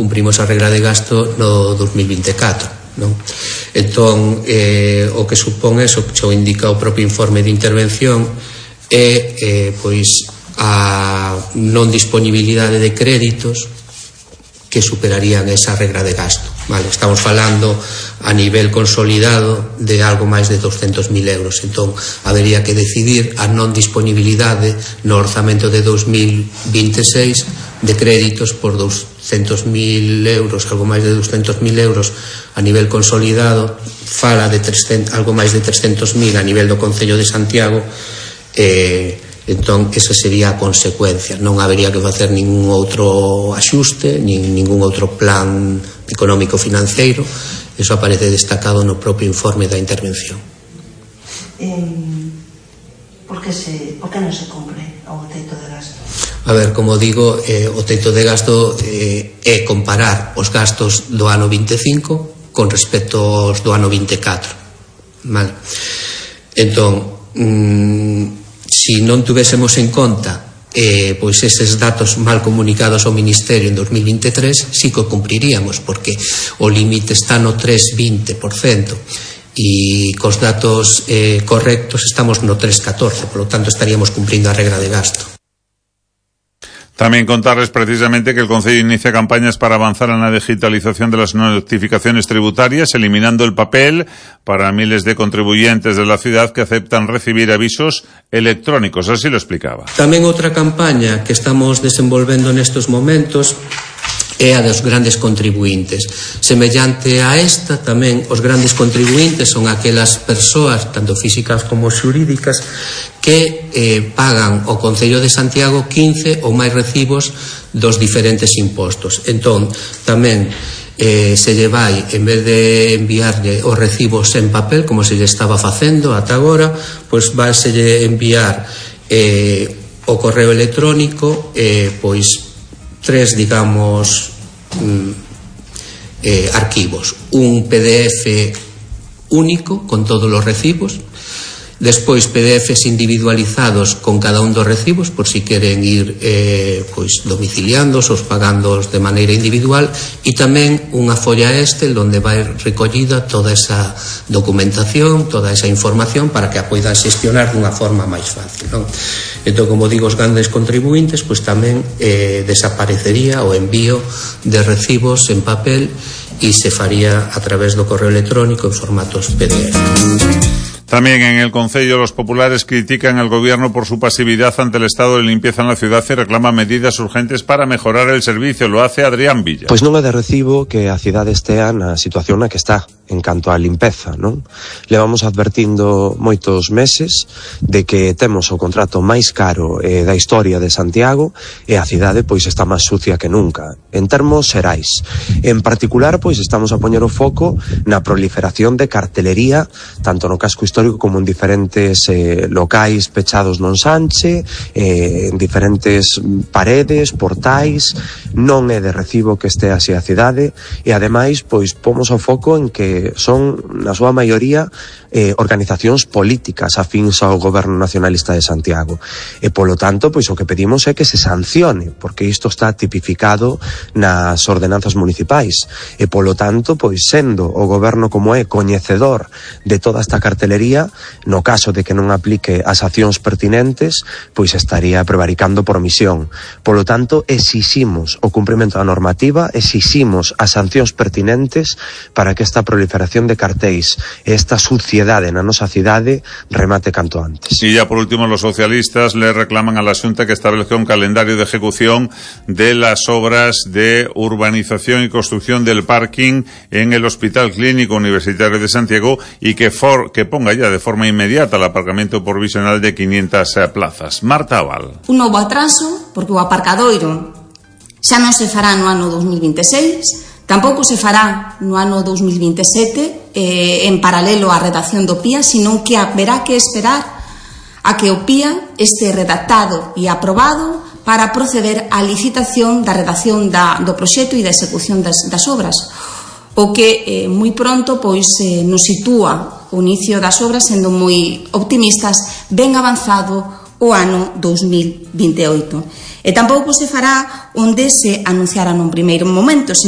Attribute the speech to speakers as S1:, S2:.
S1: cumprimos a regra de gasto no 2024, non? Entón, o que supón eso, que xo indica o propio informe de intervención, é pois a non disponibilidade de créditos que superarían esa regra de gasto, vale? Estamos falando a nivel consolidado de algo máis de 200.000 euros. Entón, habería que decidir a non disponibilidade no orzamento de 2026 de créditos por 200.000 euros, algo máis de 200.000 euros a nivel consolidado, fala de algo máis de 300.000 a nivel do Concello de Santiago. Entón, esa sería a consecuencia. Non habería que facer ningún outro axuste, ningún outro plan económico financeiro. Eso aparece destacado no propio informe da intervención.
S2: Por que non se cumpre o teito de gasto?
S1: A ver, como digo, o teito de gasto é comparar os gastos do ano 25 con respecto aos do ano 24. Vale? Entón, si non tuvésemos en conta pois eses datos mal comunicados ao Ministerio en 2023, sí que o cumpriríamos, porque o límite está no 3,20% e cos datos correctos estamos no 3,14%, por lo tanto estaríamos cumprindo a regra de gasto.
S3: También contarles precisamente que el Concello inicia campañas para avanzar en la digitalización de las notificaciones tributarias, eliminando el papel para miles de contribuyentes de la ciudad que aceptan recibir avisos electrónicos. Así lo explicaba.
S1: Tamén outra campaña que estamos desenvolvendo nestes momentos é a dos grandes contribuintes. Semellante a esta, tamén os grandes contribuintes son aquelas persoas, tanto físicas como xurídicas, que pagan ao Concello de Santiago 15 ou máis recibos dos diferentes impostos. Entón, tamén se lle vai, en vez de enviarlle os recibos en papel, como se lle estaba facendo ata agora, pois vai se lle enviar o correo electrónico, pois tres, digamos, arquivos. Un PDF único con todos os recibos, despois PDFs individualizados con cada un dos recibos, por si queren ir pois domiciliándoos ou pagándoos de maneira individual, e tamén unha folla onde vai recollida toda esa documentación, toda esa información para que a poidan xestionar dunha forma máis fácil, non? Entón, como digo, os grandes contribuintes, pois tamén desaparecería o envío de recibos en papel e se faría a través do correo electrónico en formatos PDF.
S3: También en el Concello los populares critican al gobierno por su pasividad ante el estado de limpieza en la ciudad y reclaman medidas urgentes para mejorar el servicio. Lo hace Adrián Villa.
S4: Pois non é de recibo que a cidade estea na situación na que está en canto á limpeza, non? Levamos advertindo moitos meses de que temos o contrato máis caro da historia de Santiago e a cidade pois está máis sucia que nunca, en termos xerais. En particular, pois estamos a poñer o foco na proliferación de cartelería, tanto no casco histórico como en diferentes locais pechados non Sanche, en diferentes paredes, portais. Non é de recibo que este así a cidade e ademais pois pomos o foco en que son na súa maioría organizacións políticas afíns ao goberno nacionalista de Santiago e polo tanto pois o que pedimos é que se sancione, porque isto está tipificado nas ordenanzas municipais e polo tanto pois sendo o goberno como é coñecedor de toda esta cartelería, no caso de que non aplique as accións pertinentes, pois estaría prevaricando por omisión. Polo tanto, exiximos o cumprimento da normativa, exiximos as sancións pertinentes para que esta proliferación de cartéis e esta suciedade na nosa cidade remate canto antes.
S3: Y ya por último, los socialistas le reclaman a la Xunta que establezca un calendario de ejecución de las obras de urbanización y construcción del parking en el Hospital Clínico Universitario de Santiago y que ponga ya de forma inmediata el aparcamento provisional de 500 plazas. Marta Aval.
S5: Un novo atraso, porque o aparcadoiro xa non se fará no ano 2026, tampouco se fará no ano 2027 en paralelo á redacción do PIA, senón que haberá que esperar a que o PIA este redactado e aprobado para proceder á licitación da redacción do proxecto e da execución das obras, o que moi pronto pois nos sitúa o inicio das obras sendo moi optimistas, ben avanzado o ano 2028. E tampouco se fará onde se anunciara nun primeiro momento,